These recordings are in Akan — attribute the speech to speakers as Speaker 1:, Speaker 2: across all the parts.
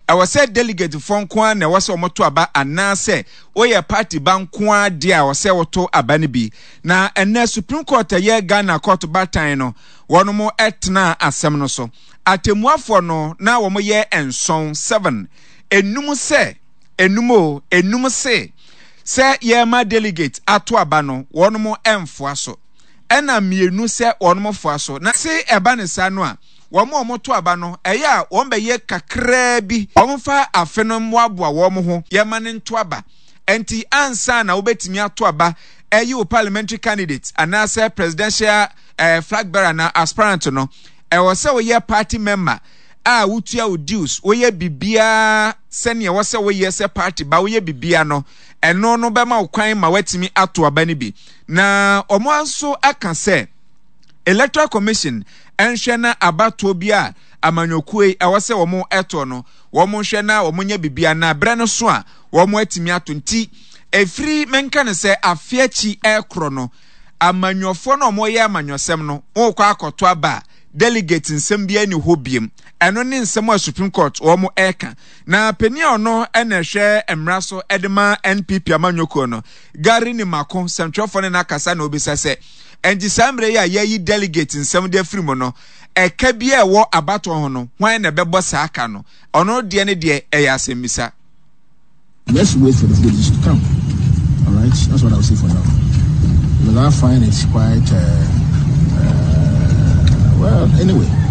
Speaker 1: Ɛwɔ sɛ delegatefoɔ nko ara na ɛwɔ sɛ wɔto aba anaasɛ woyɛ party ba nko ara deɛ a ɛwɔ sɛ woto aba no bi. Na ɛnnɛ Supreme Court a ɛyɛ Ghana kɔɔto baatan no, wɔnom tenaa asɛm no so. Atemmuafoɔ no na wɔyɛ nson, seven, enum sɛ, enum o, enum se sɛ yɛrema delegate ato aba no, wɔnom mfoa so. Ɛna mmienu sɛ wɔnom foa so. Na se ɛba no saa no a, wɔn a wɔto aba no, ɛyɛ a wɔbɛyɛ kakraa bi. Wɔmfa afe no mmoaboa wɔn ho, yɛmma no nto aba. Enti ansa na wobɛtumi ato aba ayi wo parliamentary candidate anaasɛ presidential eh, flag bearer anaa aspirant no, ɛwɔ sɛ woyɛ party member a wotua wo dues, woyɛ biribiara sɛnea ɛwɔ sɛ woyɛ sɛ party ba, woyɛ biribiara no, ɛno no bɛma wo kwan ma woatumi ato aba no bi. Na wɔn nso aka sɛ, Electoral Commission nhwɛ na abatoɔ bi a amanyɔkuo yi ɛwɔ sɛ wɔn ɛtoɔ no, wɔn nhwɛ na wɔn nyɛ biribi na berɛ no so a wɔn atumi ato. Nti ɛfiri menka no sɛ afe akyi ɛrekorɔ no, amanyɔfoɔ no a wɔyɛ amanyɔsɛm no, wɔrekɔ akɔto aba a, delegate nsɛm biara nni hɔ biem. Ɛno ne nsɛm a Supreme Court wɔn ɛreka. Na panin a ɔno na ɛhwɛ mmara so de ma NPP amanyɔkuo no, Gary Nimako, sɛmtwerɛfoɔ ne no akasa na ɔbisa sɛ, Ɛnti saa mmerɛ yi a yɛayi delegate nsɛm de afiri mu no, ɛka biara a ɛwɔ abatoɔ ho no, hwan na ɛbɛbɔ saa ka no? Ɔno deɛ ne deɛ ɛyɛ asɛmmisa.
Speaker 2: Let's wait for the footage to come. All right, that's what I'll say for now. Because I find it quite, uh, uh, well, anyway.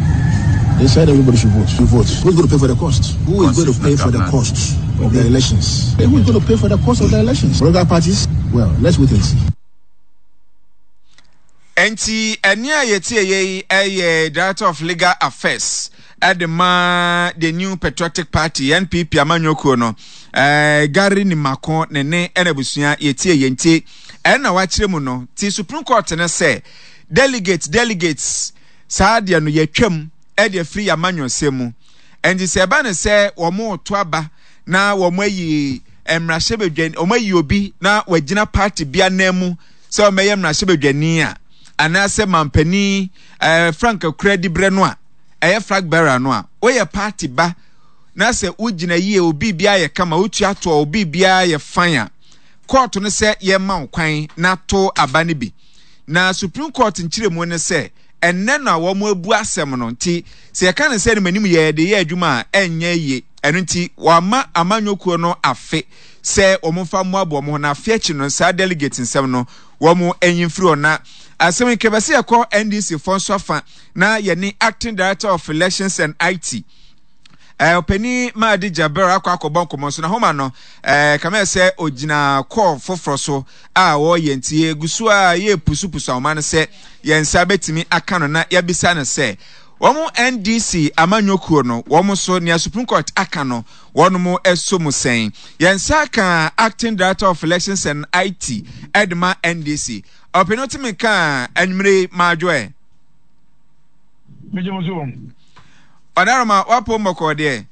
Speaker 2: They said everybody should vote. Should vote. Who's going to pay for the cost? Who is going to pay for the cost of the elections? Who is going to pay for the cost of the elections? Political parties? Well, let's wait and see.
Speaker 1: Enti ɛnne a yɛtieɛ yi yɛ Director of Legal Affairs de ma the New Patriotic Party, NPP amanyɔkuo no, eh, Gary Nimako ne ne ɛna abusua yɛtie yɛn nti ɛna wakyerɛ mu no ti Supreme Court no sɛ delegate delegates saa deɛ no yɛtwam ɛde afiri yɛ amanyɔsɛm mu ɛnti sɛ ɛba no sɛ wɔn to aba na wɔn ayi mmarahyɛbadwani wɔn ayi obi na wagyina party bi anan mu sɛ ɔmmɛyɛ mmarahyɛbadwani a anaasɛ mampanin ɛɛ eh, frank akura dibrɛ no a ɛyɛ flag bearer no a woyɛ party ba na sɛ wogyina yie obi biara yɛ kama wotua toɔ obi biara yɛ fan a kɔɔto no sɛ yɛma wo kwan na to aba no bi na supreme court nkyerɛmu ne sɛ Ɛnnɛ na wɔabu asɛm no nti sɛ yɛka no sɛ animanim yɛ de yɛ adwuma a ɛnyɛ yie. Ɛno nti wɔama amanyɔkuo no afe sɛ wɔmfa mmoaboa wɔn ho na afe akyi no saa delegate nsɛm no wɔn nyi mfiri hɔ. Na asɛm yi kɛbɛ sɛ yɛkɔ NDC foɔ nso afa na yɛne Acting Director of Elections and IT Ɔpanin Mahdi Jabir akɔ akɔbɔ nkɔmmɔ nso na homa no kame sɛ ogyina kɔɔ foforɔ so a wɔreyɛ nti yɛgu so a yɛrepusupusu ahoma no sɛ yɛn nsa bɛtumi aka no na yɛabisa no sɛ wɔn NDC amanyɔkuo no wɔn nso nea Supreme Court aka no wɔn mo ɛso mu sɛn. Yɛn nsa aka Acting Director of Elections and IT ɛde ma NDC. Ɔpanin otumi ka anwummere maadwo ɛ.
Speaker 3: Megye mo so.
Speaker 1: Ɔdaroma wapon bɔkɔɔ deɛ.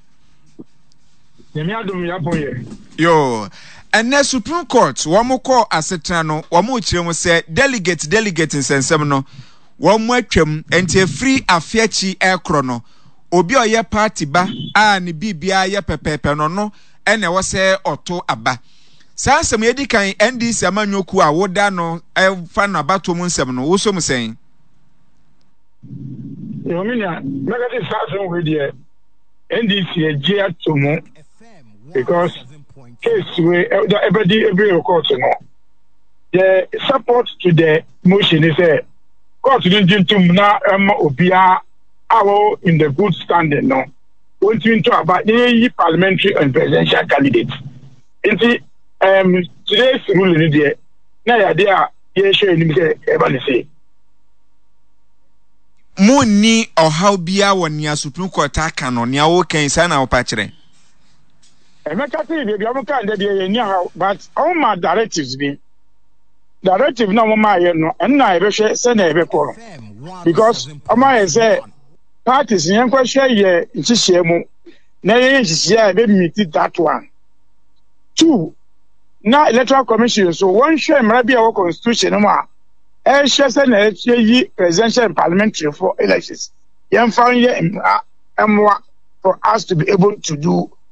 Speaker 3: Nyame adom yɛapon yɛ.
Speaker 1: Yoo. Ɛnɛ Supreme Court wɔn kɔɔ asetena no wɔn rekyerɛ mu sɛ delegate delegate nsɛnsɛm no wɔn atwam nti efiri afe akyi ɛkorɔ no obi a ɔyɛ party ba a ne biribiara yɛ pɛpɛɛpɛ no ɔno ɛna ɛwɔ sɛ ɔto aba. Saa nsɛm yɛdi kan NDC amanyɔkuo a woda no ɛfa no abatoɔ mu nsɛm no wosɔ mu sɛn?
Speaker 3: Yo, me nua, mɛka sɛ saa asɛm wei deɛ NDC agye ato mu because case wei ɛbɛdi ebire wɔ court no. The support to the motion is sɛ court no ngye ntom na ɛma obiara a wɔwɔ in the good standing no wɔntumi nto aba na yɛyi parliamentary and presidential candidates. Nti um, today's ruling no deɛ na yɛ adeɛ a yɛhwɛ anim sɛ ɛba ne sei.
Speaker 1: Monni ɔhaw biara wɔ nea Supreme Court aka no, nea woka yi, saa na wopa kyerɛ?
Speaker 3: Ɛmɛka sɛ baabi a wɔka ndɛ deɛ yɛnni haw but wɔn ma directives bi. Directive na wɔn maa yɛ no ɛno na yɛbɛhwɛ sɛnea yɛbɛkɔ no because wɔn ayɛ sɛ parties yɛn kɔhwɛ yɛ nhyehyɛɛ mu na yɛyɛ nhyehyɛɛ a yɛbɛ meet that one. Two, na electoral commission nso wɔnhwɛ mmara bi a ɛwɔ constitution no mu a ɛrehyɛ sɛ na yɛyi presidential and parliamentary for elections yɛmfa nyɛ mmara mmoa for us to be able to do.